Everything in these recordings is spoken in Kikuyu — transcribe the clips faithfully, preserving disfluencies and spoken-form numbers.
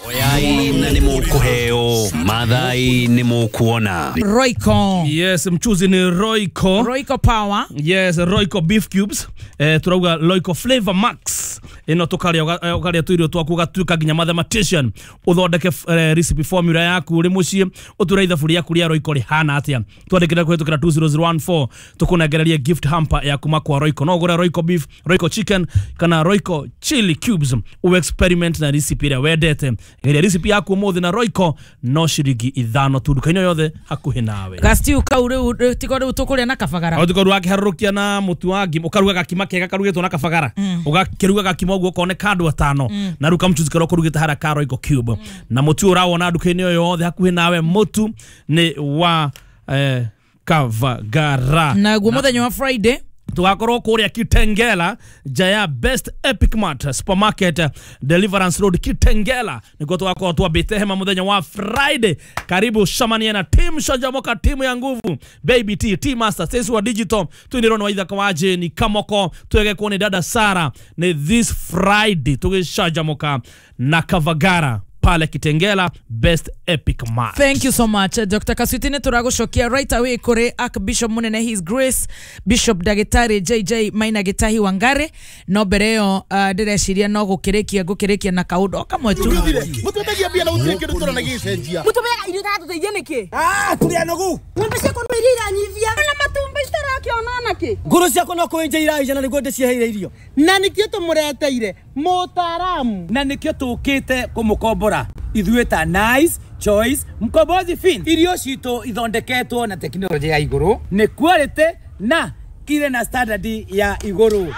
Oyai na nĩ mũkũheo, Mathai nĩ mũkuona. Royco. Yes, mchuzi ni Royco. Royco Power. Yes, Royco beef cubes. Eh, turauga Royco Flavor Max. Ino tukaria ukaria tuirio twaku gatuika nginya mathematician. Uthondeke eh, recipe formula yaku uri mucii, uture ithabu yaku ria Royco rihana atia. Twandikire kuhitukira two zero zero one four tukunengererie gift hamper ya kuma kwa Royco. No ugure Royco beef, Royco chicken kana Royco chili cubes. U experiment na recipe ria wendete. Geria recipe yaku umuthi na Royco no ciringi ithano tu nduka-inĩ yothe hakuhĩ nawe. Gastiu kau riu tiko riu tukuria na kabagara. O tiko rwakiharũrũkia na mũtu wa ngima, ũkaruga gakima kega karugĩtwo na kabagara. Ũgakĩruga gakima ũguo ũkoneka andũ atano. Na rĩu kamchuzi karĩa ũkũrugĩte harĩa ka Royco cube. Na mũtu ũrawona nduka-inĩ yothe hakuhĩ nawe, mũtu nĩ wa eh, Kavagara. Na guo mũthenya wa Friday tugakorwo kuria Kitengela nja ya Best Epic Mart Supermarket, Deliverance Road, Kitengela nikuo tugakorwo twambite hema muthenya wa Friday. Karibu shamania na team Shanjamoka, timu ya nguvu, Baby T, T Master, Stacey wa Digital, twinirwo ni Waithaka wa Jane Kamoko, twegekwo ni dada Sara. Ni this Friday tugishanjamoka na Kavagara pale Kitengela, Best Epic Mart. Thank you so much, Doctor Kaswitine. Turagucokia right away kuri Archbishop Munene, His Grace Bishop Dagitari J J Maina Gitahi Wangari. No mbere ĩyo ndĩreciria no gũkĩrĩkia ngũkĩrĩkia na kaũndũ o kamwe tu. Mũtwendagia mbia na gũtirĩ kĩndũ tũrona gĩgĩcenjia. Mũtũmeaga irio iratũteithia nĩkĩ? Ah, tũrĩ anogu. Ng'ombe ciakwa no iria iranyivia. Na matumbĩ citarakĩona nakĩ? Ngũrũ ciakwa no kũenja iraija na nĩguo ndĩciheire irio. Na nĩkĩo tũmũreteire mũtaaramu. Na nĩkĩo tũkĩte kũmũkombora ithuĩ ta Nice Choice Mkombozi Fin. Irio citũ ithondeketwo na tekinoronjĩ ya igũrũ, nĩ quality na irĩ na standard ya igũrũ.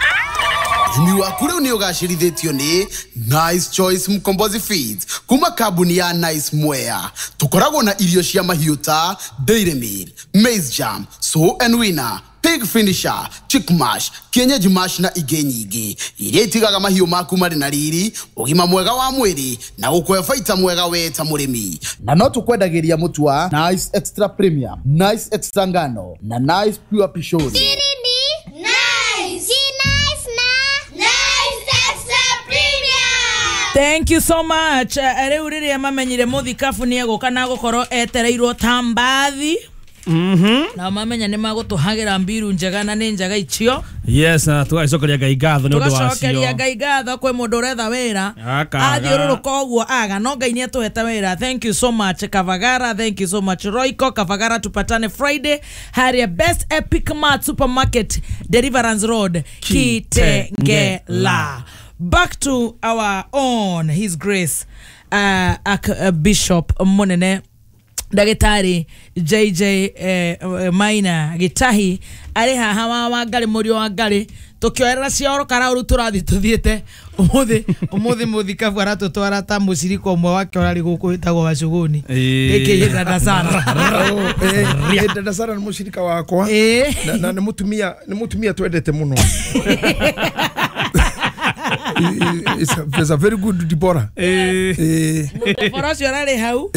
Ũrĩmi waku rĩu nĩ ũgacĩrithĩtio nĩ Nice Choice Mkombozi Feeds kuma kambuni ya Nice Mwea. Tũkoragwo na irio cia mahiũ ta Dairy Meal, Maize Jam, Sow and Winner, Pig Finisher, Chick Mash, Kienyeji Mash na ingĩ nyingĩ iria itigaga mahiũ maku marĩ na riri, ũgima mwega wa mwĩrĩ na gũkũhe baita mwega we ta mũrĩmi. Na no tũkwendagĩria mũtu wa Nice Extra Premium, Nice Extra Ngano na Nice Pure Pishori. Thank you so much. Rĩu rĩrĩa mamenyire mũthikabu nĩ egũka na gũkorwo etereirwo ta mbathi. Mhm. Na mamenya nĩ magũtũhagĩra mbiru njega na nĩ njega icio. Yes, na tũgacokeria Ngai ngatho nĩ ũndũ wacio. Tũgacokeria Ngai ngatho kwĩ mũndũ ũretha wĩra. Athiũrũrũka ũguo aga no Ngai nĩ atũhete wĩra. Thank you so much Kavagara, thank you so much Royco Kavagara. Tupatane Friday harĩa Best Epic Mart Supermarket, Deliverance Road, Kitengela. Back to our own His Grace uh, uh, Bishop Munene Dagitari J J eh, Maina Gitahi ari haha wa Wangari mũriũ wa Wangari tukioerera cioro karauru turathi tuthiete umuthi umuthi muthikabu aratutwara ta mucirika umwe wake urari guku witagwo Wacuguni aka Dada Sara. Eh, Dada Sara ni mucirika wakwa na ni mutumia ni mutumia twendete muno. It's a very good Deborah. Eh. Deborah ũcio ararĩ hau.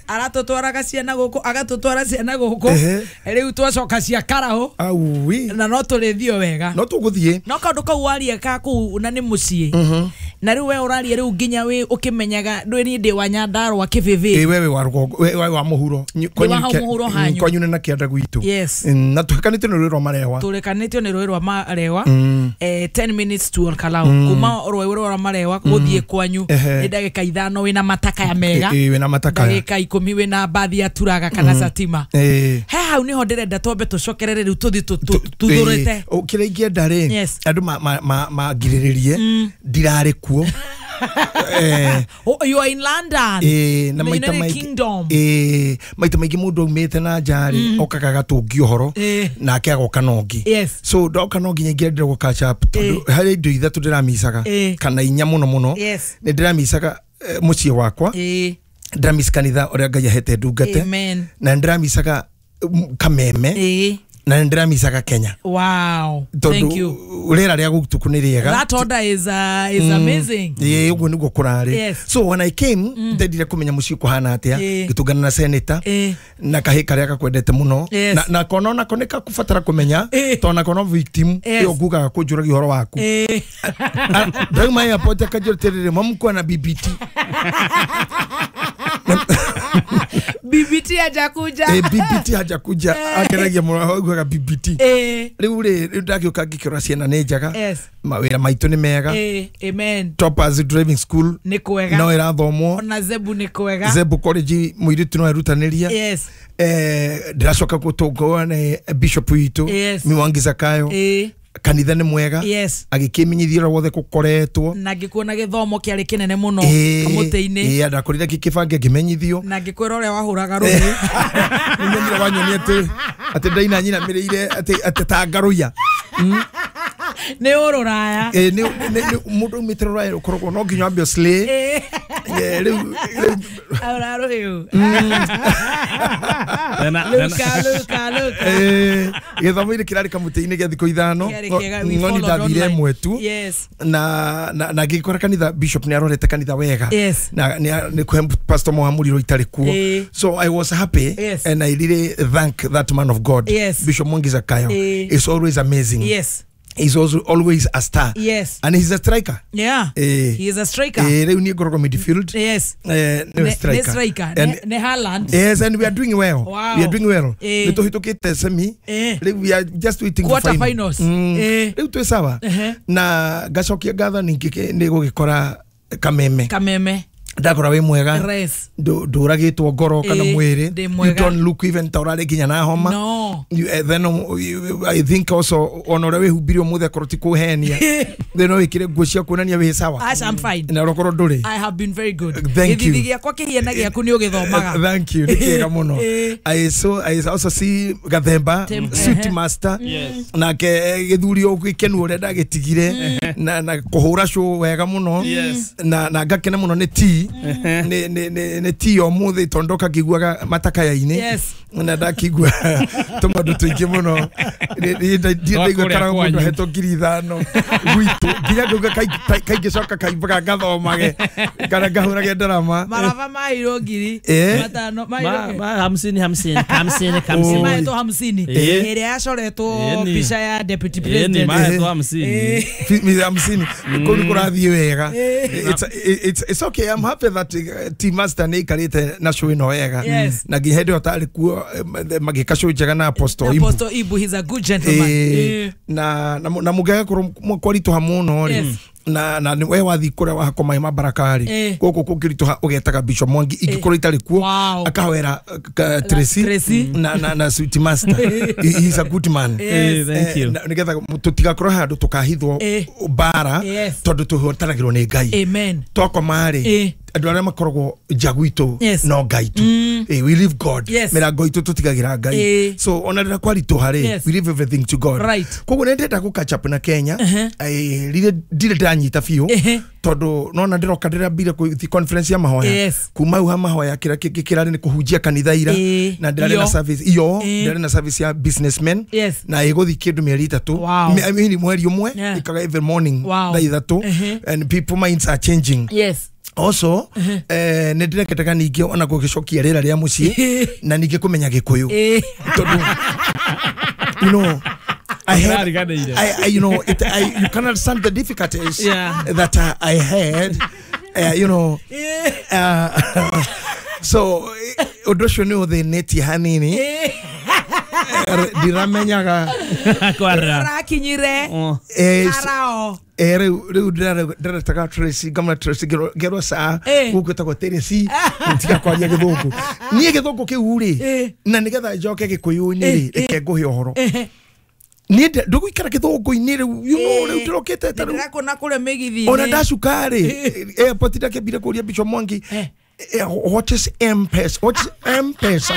Aratũtwaraga ciana gũkũ, agatũtwara ciana gũkũ. Rĩu twacoka cia Karahũ. Aui. Na no tũrĩthiĩ wega. No tũgũthiĩ. No kaũndũ kau waria ka kũu na nĩ mũciĩ. Na rĩu we ũraria rĩu nginya wĩ ũkĩmenyaga ndwĩ niĩ ndĩ wa Nyandarũa kĩbĩbĩ. Ĩ wewe wa rũgongo, we wa mũhuro. Kwanyu nĩ na kĩanda gwitũ. Yes. Na tũhekanĩtio nĩ rũĩ rwa Marewa. Tũrekanĩtio nĩ rũĩ rwa Marewa. Eh, ten minutes to Olkalau. Kuma rũĩ rwa Marewa gũthiĩ kwanyu nĩ ndagĩka ithano wĩna matakaya mega. Ĩ wĩna matakaya. Ndagĩka ikũmi wĩna mbathi ya Turaga kana Satima. He hau niho ndĩrenda twambe tũcokerere rĩu tũthiĩ tũthũrĩte. Kĩrĩa ingĩenda rĩ, andũ mangirĩrĩrie ndirarĩ kuo. Eh, oh, you are in London. Eh, na maita maingĩ eh maita maingĩ mũndũ aumĩte na nja rĩ okaga agatũngia ũhoro nake agoka na ũngĩ. So ndoka no nginya ingĩendire gũ catch up tondũ harĩ indo ithatũ ndĩramicaga kana inya mũno mũno. Nĩ ndĩramicaga mũciĩ wakwa, ndĩramica kanitha ũrĩa Ngai ahete ndungate, na ndĩramicaga kameme, Na nĩ ndĩramicaga Kenya. Wow. Thank you. Rĩera rĩa gũtukũ nĩ rĩega. That order is uh, is mm. amazing. Ĩĩ ũguo nĩguo kũrarĩ. Yes. So when I came mm. ndendire kũmenya mũciĩ kũhana atĩa, ngĩtũngana na senator e. na kahĩ karĩa gakwendete mũno yes. na na kona onako nĩ kakubatara kũmenya e. tondũ nako no victim yes. ĩyo ngugaga kũnjũragia ũhoro waku. E. Ndauma airport akanjĩra atĩrĩrĩ mamkwa na B B T. B B T hajakuja. Eh, B B T hajakuja. Akeragia mũno augaga B B T. Eh. Rĩu rĩ rĩu ndagĩũka ngĩkĩrora ciana nĩ njega. Yes. Mawĩra maitũ nĩ mega. Eh, amen. Toppers Driving School nĩ kwega. No ĩrathomwo. Ona Zebu nĩ kwega. Zebu College mũirĩtu no erutanĩria. Yes. Eh, ndĩracoka gũtũngwo nĩ Bishop witũ. Yes. Mwangi Zakayo. Eh. Kanitha nĩ mwega. Yes. Agĩkĩmenyithia ũrĩa wothe gũkoretwo na ngĩkuona gĩthomo kĩarĩ kĩnene mũno kamũtĩ-inĩ. Ĩĩ ndakorire gĩkĩbange ngĩmenyithio na ngĩkwĩra ũrĩa wahũraga rũhĩ. Nĩnyonire wanyonia atĩ atĩ ndaina nyinamĩrĩire atĩ atĩ ta ngarũiya. Nĩ ũrũraya. Ĩĩ nĩ mũndũ aumĩte rũraya ũkoragwo no nginya wambe ũslay. Rĩu ahũra rũhĩ. Luka Luka Luka. Gĩthomo-inĩ kĩrarĩ kamũtĩ-inĩ gĩa thikũ ithano ng'oni ndathire ĩmwe tu. Yes. Na na na ngĩkora kanitha bishop nĩ arorete kanitha wega. Yes. Na nĩ kũhe pastor Mohamuriro itarĩ kuo. So I was happy. Yes. And I really thank that man of God. Yes. Bishop Mwangi Zakayo. It's always amazing. Yes. He's also always a star. Yes. And he's a striker. Yeah. Eh, he is a striker. Eh, rĩu niĩ ngoragwo midfield. Yes. Eh, nĩ striker. Ne striker. And, ne Haaland. Yes, and we are doing well. Wow. We are doing well. Eh. Nĩ tũhĩtũkĩte semi. Eh. Rĩu we are just waiting for quarter final. Finals. Mm. Eh. Rĩu twĩ sawa. Uh -huh. Na ngacokia ngatho ningĩ nĩ gũgĩkora Kameme. Kameme. Ndakora wĩ mwega. Ndũragĩtwo ngoro kana mwĩrĩ. You don't look even ta ũrarĩ nginya na homa. No. You, uh, then um, I think also ona ũrĩa wĩhumbire ũmũthĩ akorwo ti kũhenia. Then no wĩkĩre nguo cia kuonania wĩ sawa. Ash, I'm fine. Na ũrokorwo ndũrĩ. I have been very good. Thank you. Gĩthithi gĩakwa kĩhiana gĩaku nĩ ũgĩthomaga. Thank you. Nĩ kĩega mũno. I saw I also see Gathemba suit master. Yes. Nake gĩthuri gĩkenu ũrĩa ndagĩtigire na na kũhũra show wega mũno. Yes. Na na ngakena mũno nĩ tea. Nĩ nĩ nĩ nĩ tea ũmũthĩ tondũ ndoka ngĩiguaga matakaya-inĩ. Yes. Na ndakigua tũmaũndũ tũingĩ mũno. Ndiĩ ndaigua karagwo mũndũ ahetwo ngiri ithano gwitũ nginya ngauga kaingĩcoka kaimbaga ngathomage kana ngahũrage ndarama. Maraba maheirwo ngiri matano maheirwo hamsini hamsini hamsini hamsini mahetwo hamsini ĩrĩa yacoretwo mbica ya deputy president. Mahetwo hamsini hamsini kũu nĩ kũrathiĩ wega. It's it's it's okay. I'm happy that uh, team master nĩ ikarĩte na show ĩno wega. Na nginya hĩndĩ ĩyo tarĩ kuo magĩka show njega na Apostle Ibu. Apostle Ibu, he's a good gentleman. Eh, na na na mũngĩagakorwo kwaritũha mũno rĩ na na we wathi kũrĩa wahakwo maĩ ma baraka rĩ gũkũ kũngĩritũha ũgetaga Bishop Mwangi ingĩkorwo itarĩ kuo akahwera Tracy na na na Sweet Master. He's a good man. Yes. Thank you. Nĩgetha tũtigakorwo handũ tũkahithwo mbara tondũ tũhotanagĩrwo nĩ Ngai. Amen. Twakoma rĩ andũ arĩa makoragwo nja gwitũ no Ngai tu. Eh, we leave God. Mĩrango itũ tũtigagĩra Ngai. So ona rĩrĩa kwaritũha rĩ we leave everything to God. Koguo nĩ ndĩrenda gũ catch up na Kenya. Rĩrĩ ndirĩ ndĩranyita biũ tondũ nona ndĩroka ndĩrambire gũthiĩ conference ya mahoya. Kuma hau ha mahoya kĩrĩa kĩngĩ kĩrarĩ nĩ kũhunjia kanitha ira na ndĩrarĩ na service iyo ndĩrarĩ na service ya businessmen na ĩgũthiĩ kĩndũ mĩeri ĩtatũ I mean mweri ũmwe ĩkaga every morning thaa ithatũ and people minds are changing. Yes. Also eh nĩ ndĩreketaga ningĩ ona gũgĩcokia rĩera rĩa mũciĩ na ningĩ kũmenya Gĩkũyũ tondũ you know I had, I, I, you know, it, I, you can understand the difficulties yeah. that uh, I had, uh, you know. Uh, so, ũndũ ũcio nĩ ũthĩnĩtie hanini. Ndiramenyaga rakinyire arao. Eh, rĩu rĩu ndĩretaga Tracy ngamũra Tracy ngerwo saa gũkũ ĩtagwo Tracy tiga kwaria gĩthũngũ niĩ gĩthũngũ kĩu rĩ na nĩgetha njoke Gĩkũyũ-inĩ rĩ reke ngũhe ũhoro niĩ ndũgũikara gĩthũngũ-inĩ rĩu you know rĩu ndĩrokĩte ta rĩu ndĩrakũna kũrĩa mĩgithi-inĩ ona ndacuka rĩ airport ndakĩambire kũria Bishop Mwangi what is M-Pesa? What is M-Pesa?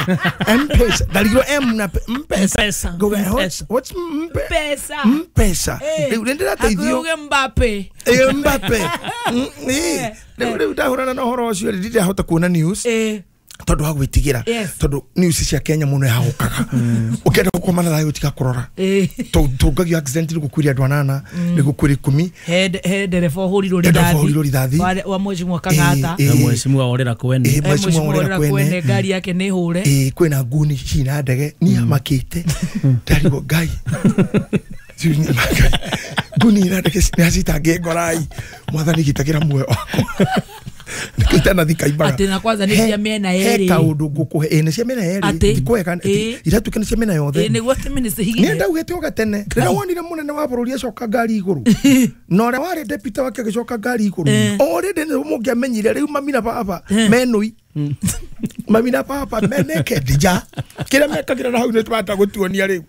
M-Pesa. Ndarigirwo M na M-Pesa. What's what's M-Pesa? M-Pesa. Rĩu nĩ ndĩrateithio. Akuuge Mbappe. Eh Mbappe. Eh. Rĩu rĩu ndahũrana na ũhoro ũcio rĩ ndirahota kuona news. Tondu wa gwitigira tondu news cia Kenya muno yahukaga ukienda gukoma na thayo tiga kurora tungagio accident ni gukuiria andu anana ni gukuiria ikumi he he ndereba uhurirwo rithathi wa mheshimiwa Kang'ata na mheshimiwa orera kwene mheshimiwa orera kwene ngari yake ni hure eh kwina nguni cina ndege ni amakite ndarigwo ngai nguni ina ndege ni acitange ngorai mwathani gitagira muoyo wakwa nikitana thika ibaga ati na kwanza ni cia miena yeri he kaundu ngukuhe ĩ nĩ cia miena yeri ndikwega iratuĩka nĩ cia miena yothe ĩ nĩguo atĩ mĩnĩ cihigire nĩ ndaugĩte o gatene rĩrĩa wonire mũnene wa bũrũri acoka ngari igũrũ na ũrĩa warĩ deputy wake agĩcoka ngari igũrũ already nĩ mũngĩamenyire rĩu mami na baba menũi mami na baba meneke nja kĩrĩa mekagĩra na hau nĩ twahota gũtuonia rĩu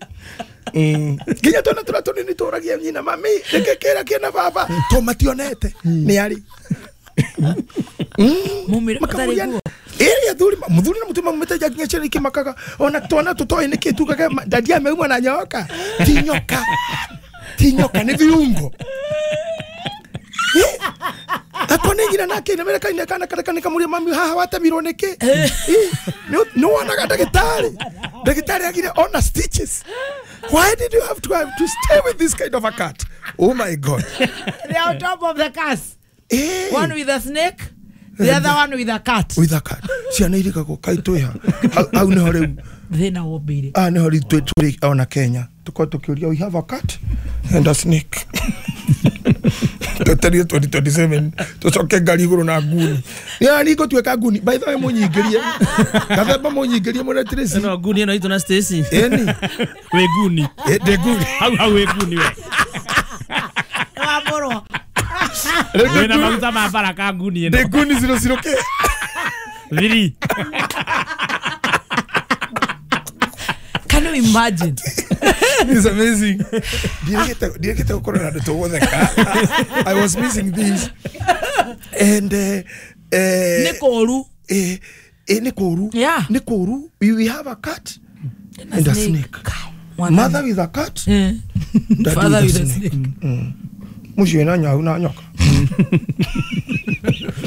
nginya twana tũrĩa tũnini tũragia nyina mami nĩkĩ kĩra kĩna baba to mationete nĩ arĩ mumire matariguo ĩrĩa thuri muthuri na mutumia mumĩte nja nginya ciana ikĩmakaga ona twana tũtoĩ nĩkĩ tugaga dadi ameumwa na nyoka ti nyoka ti nyoka nĩ viungo akone ngira nake na mera kaine kana kana kana kamuria mami haha watemirwo nĩkĩ nĩ wonaga ndagĩtarĩ ndagĩtarĩ agire ona stitches. Why did you have to have to stay with this kind of a cat? Oh my God. They are on top of the cars. Eh. One with a snake, the other one with a cat. With a cat. Ciana irikagwo kai twĩha hau nĩho rĩu thĩna wombĩire. Ah, nĩho rĩu twĩ ona Kenya tũkorwo tũkĩũria we have a cat and a snake. Twetereire twenty twenty-seven tũcoke ngari igũrũ na nguni. Nĩ ni ngũtuĩka nguni. By the way mũnyingĩrie. Gathemba mũnyingĩrie mũne Tracy. No nguni ĩno itũ na Stacy. Ĩni. Wĩ nguni. Ndĩ nguni. Hau hau wĩ nguni we. Wamũrwo. Wĩna maguta ma baraka nguni ĩno. Ndĩ nguni zero zero ke. Three. Can you imagine? It's amazing. Ndirekete gukorwo na andu tũgũtheka. I was missing this. And uh, uh, nĩ kũũru. Eh, eh, nĩ kũũru. Yeah. Nĩ kũũru. We, we have a cat and a snake. Mother with a cat. Yeah. Father with a snake. Mm. Mũciĩ na nyau na nyoka.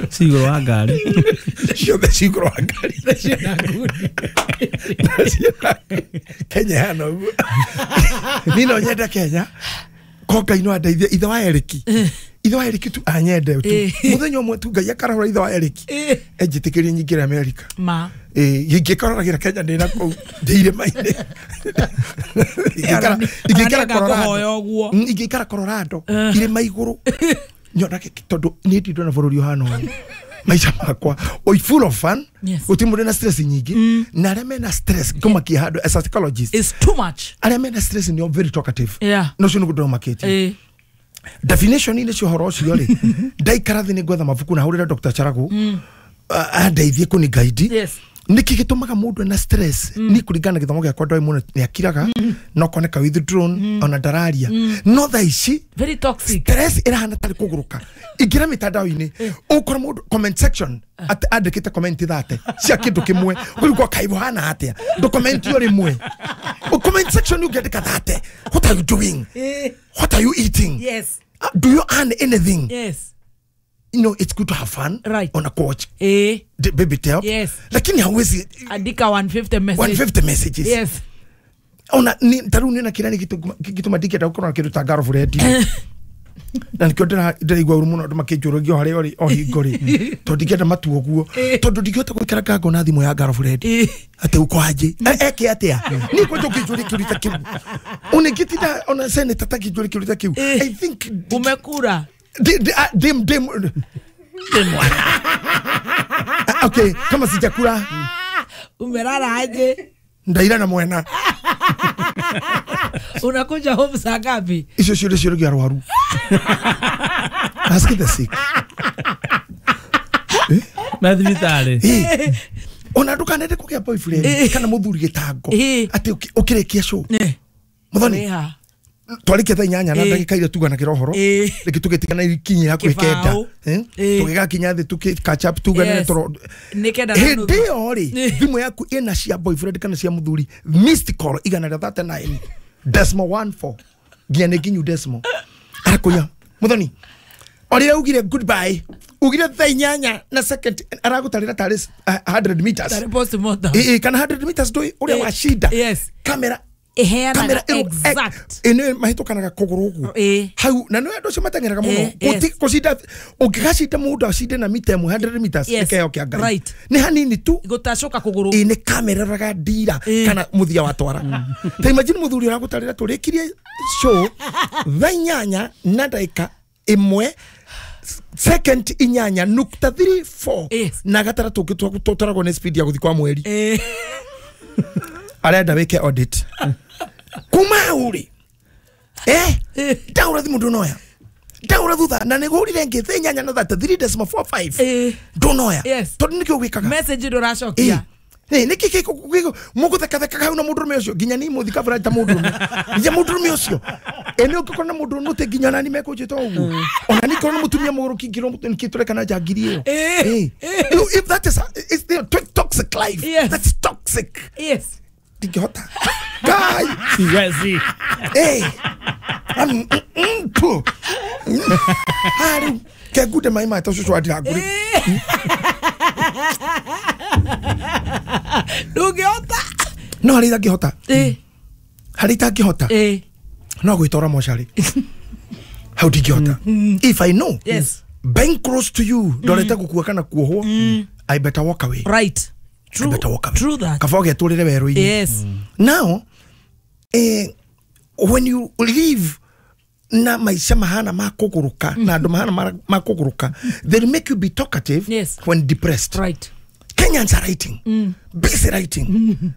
Cigũrũ wa ngari. Ciothe cigũrũ wa ngari. Na ciĩna nguni. Na ciĩna Kenya hana ũguo. Niĩ no nyende Kenya. Ko Ngai no andeithie ithe wa Eriki. Ithe wa Eriki tu anyende tu. Mũthenya ũmwe tu Ngai akarahũra ithe wa Eriki. Enjĩtĩkĩrie nyingĩre America. Ma. Eh, ingĩkororagĩra Kenya ndĩ na kũu ndĩ irĩma-inĩ. Ingĩikara Colorado. Ingĩikara Colorado irĩma igũrũ. Nyonage tondũ niĩ ndirĩ ndona bũrũri ũhana ũũ. Maica makwa oi full of fun. Gũtirĩ mũndũ na stress nyingĩ. Na arĩa mena stress ngũmakia handũ as a psychologist. It's too much. Arĩa mena stress nĩo very talkative. Yeah. No ũcio nĩguo ndĩromakĩtie. Definition inĩ cia ũhoro ũcio rĩ ndaikara thĩ nĩ ngwetha mabuku na hũrĩre Doctor Charagu andeithie kũni guide. Yes. Nĩkĩ gĩtũmaga mũndũ ena stress ni kũringana na gĩthomo gĩakwa ndoĩ mũno nĩ akiraga no koneka withdrawn ona ndararia no thaa ici very toxic stress ĩrahana tarĩ kũgũrũka ingĩra mĩtandao-inĩ ũkora mũndũ comment section andĩkĩte comment thate cia kĩndũ kĩmwe ũrigwo kaĩ ũhana atĩa ndũ comment o rĩmwe comment section ũngĩandĩka thate what are you doing, what are you eating, yes, do you earn anything, yes. You know, it's good to have fun, right, on a coach, eh, the baby tell, yes, lakini hauwezi andika one fifty messages, one fifty messages, yes, ona ni taru ni na kirani kitu kitu madiki ta ukona kindu ta girlfriend na nikio ndira ndiraigua uru muno andu makinjũrũgio harĩa ũrĩ o hingo rĩ tondũ ndingĩenda matuo guo tondũ ndingĩhota gũikara ngango na thimũ ya girlfriend atĩ uko aje eke atĩa niĩ kwanja ũkĩnjũria kĩũria ta kĩu unĩngĩtinda ona senator takĩnjũria kĩũria ta kĩu I think umekura dim dim dim okay kama sijakula umelala aje ndaira na mwena unakuja home saa ngapi icio ciũria ciũragia arwaru ask the sick na thibitarĩ ona ndukanende kũgĩa boyfriend kana mũthuri gĩtango atĩ ũkĩrĩkia show muthoni twarĩkia thaa inyanya na ndagĩka iria tuganagĩra ũhoro rĩngĩ tũgĩtigana ikinye hakuhĩ kenda tũgĩgakinya thĩ tũkĩ catch up tuganĩre toro hĩndĩ ĩyo rĩ thimũ yaku ĩna cia boyfriend kana cia mũthuri missed call igana rĩa thirty nine decimal one four nginya nĩ nginyu decimal arakũiya muthoni Orira ugire goodbye ugire thaa inyanya na second aragutarira tari one hundred meters. Tari postmortem. Eh, kana one hundred meters ndui uria wa shida. Yes. Kamera iheanaga exact. Ĩno mahĩtũkanaga kũgũrũ ũguo hau, na nĩ andũ acio mateng'eraga mũno gũcinda. Ũngĩgacinda mũndũ acinde na mita ĩmwe, one hundred meters, nĩ kĩheo kĩa Ngai, nĩ hanini tu. Gũtacũka kũgũrũ. Ĩ nĩ kamera ĩroraga ndira kana mũthia wa twara. Ta imagine mũthuri ũragũtarĩra tũrĩkirie show thaa inyanya na ndagĩka ĩmwe second inyanya nukta thirty-four na gataratu tũtwaragwo nĩ speed ya gũthiĩ kwa mweri, arenda wike audit kuma hau rĩ, eh ndaura thimu ndunoya, ndaura thutha na nĩgũrire ngĩ thaa inyanya na thirty-three decimal four five ndunoya, tondũ nĩkĩo gwĩkaga. Message ndũracokia. Nĩ nĩkĩ gĩkũ mũgũthekathekaga hau na mũndũrũme ũcio? Nginya niĩ mũthikabũra ta mũndũrũme, nginya mũndũrũme ũcio ĩ nĩ ũngĩkorwo na mũndũrũme ũtĩ nginya onani mekũnjĩta ũguo, ona niĩ korwo na mũtumia mũgũrũki ngĩrwo nĩkĩ tũrekana njangiri ĩyo. If that is it's the toxic life. Yes. That's toxic. Yes. Ndingĩhota Ngai. Siwezi. Eh am mpu haru kegude mai mata cucu andirangũrĩ. Ndũngĩhota. No harĩa itangĩhota, harĩa itangĩhota no gwĩtwara mocarĩ, hau ndingĩhota. If I know, yes, being close to you ndorete gũkua kana kuohwo, I better walk away. Right. True. I better walk away. True that. Kaba ũgetũrĩre werũ-inĩ. Yes. Now eh, when you live na maica mahana ma kũgũrũka na andũ mahana ma kũgũrũka, they make you be talkative. Yes. When depressed. Right. Kenyans are writing, mm. busy writing, mm.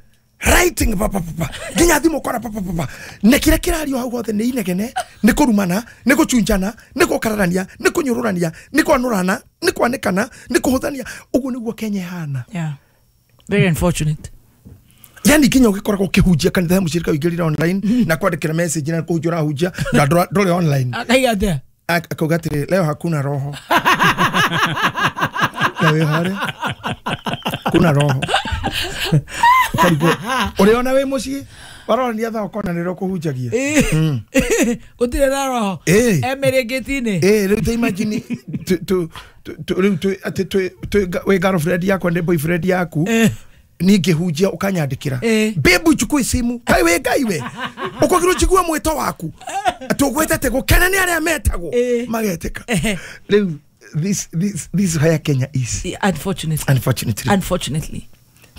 writing pa pa pa nginya thimũ kora pa pa pa, na kira kirario hau hothe nĩ inegene, nĩ kũrumana, nĩ gũchunjana, nĩ gũkararania, nĩ kũnyũrũrania, nĩ kwanũrana, nĩ kwanĩkana, nĩ kũhũthania. Ũguo nĩguo Kenya ĩhana. Yeah. Very unfortunate. Yani nginya ũgĩkoragwo ũkĩhunjia kanitha ya mũcirika ũingĩrire online na kwandĩkĩra message na kũhunjia ũrahunjia na ndũrĩ online. Akaiga atĩa? Akauga atĩrĩ, leo hakuna roho na wĩ harĩa kuna roho. Ũrĩ ona wĩ mũciĩ warorania thaa ũkona nĩrĩo kũhunjagia. Gũtirĩ na roho emĩrĩngĩti-inĩ. Rĩu ta imagine rĩu atĩ wĩ girlfriend yakwa nĩ boyfriend yaku, ningĩhunjia ũkanyandĩkĩra, babe uchukue simu, kai we ngai we ũkwagĩrwo njigua mwĩto waku tũgwĩtete gũkena nĩ arĩa metagwo magetĩka. Rĩu this this this where Kenya is. Unfortunately. Unfortunately. Unfortunately.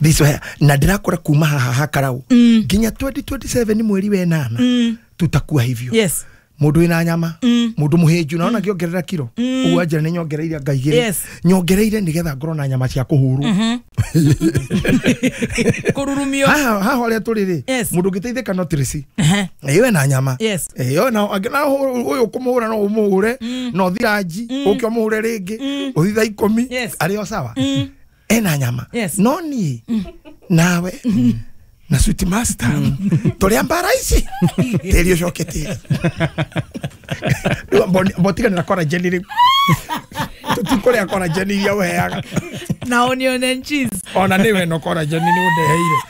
This where na ndirakora kuma haha hakarau nginya twenty twenty-seven mweri wa enana tutakuwa hivyo. Yes. Mundu wina nyama, mundu muhinju naona ngiongerera kiro uguo anjira ni nyongereire ngai igiri nyongereire nigetha ngorwo na nyama cia kuhuru kururumio haha haha haria turi ri mundu ngiteithika no tirisi iyo na nyama iyo na na uyu kumuhura no umuhure no thiranji uke umuhure ringi uthi thaa ikumi ari o sawa ena nyama no ni nawe na sweet master turi mbara ici tiri ucoke tiri mbotigana na collagen riu tutikuria collagen iria uheaga na onion and cheese. Ona niwe no collagen ni undeheire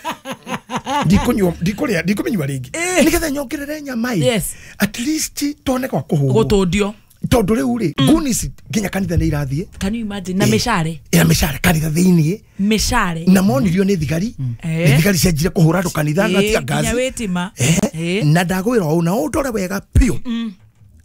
ndikunywa ndikuria ndikumenywa ringi nigetha nyongerere nyama i at least tuone kwa kuhurwo gutundio tondu riu ri nguni nginya kanitha ni irathie. Can you imagine? Na micare ira micare kanitha thiini micare na monirio ni thigari ni thigari cianjire kuhura andu kanitha na tia ngazi nginya witima na ndagwira u na undore wega piu.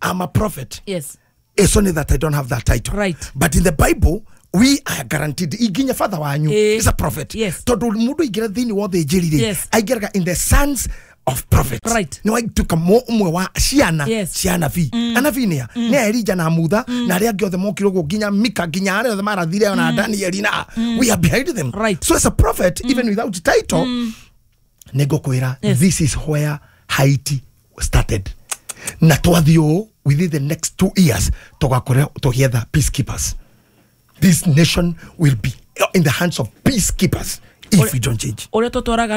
I'm a prophet. Yes. It's only that I don't have that title. Right. But in the Bible we are guaranteed iginya father wanyu is a prophet. Yes. Tondu mundu ingira thiini wothe njirire aingiraga in the sons of prophets. Right. No aituka mo umwe wa ciana cia anabii. Anabii ni ni Elijah na Mutha na aria angi othe mokire uguo nginya Mika nginya aria othe marathire ona Daniel na we are behind them. Right. So as a prophet mm. even without title mm. ningukwira yes. This is where Haiti started. Na twathio within the next two years tugakore together peacekeepers. This nation will be in the hands of peacekeepers if we don't change. Ore totoraga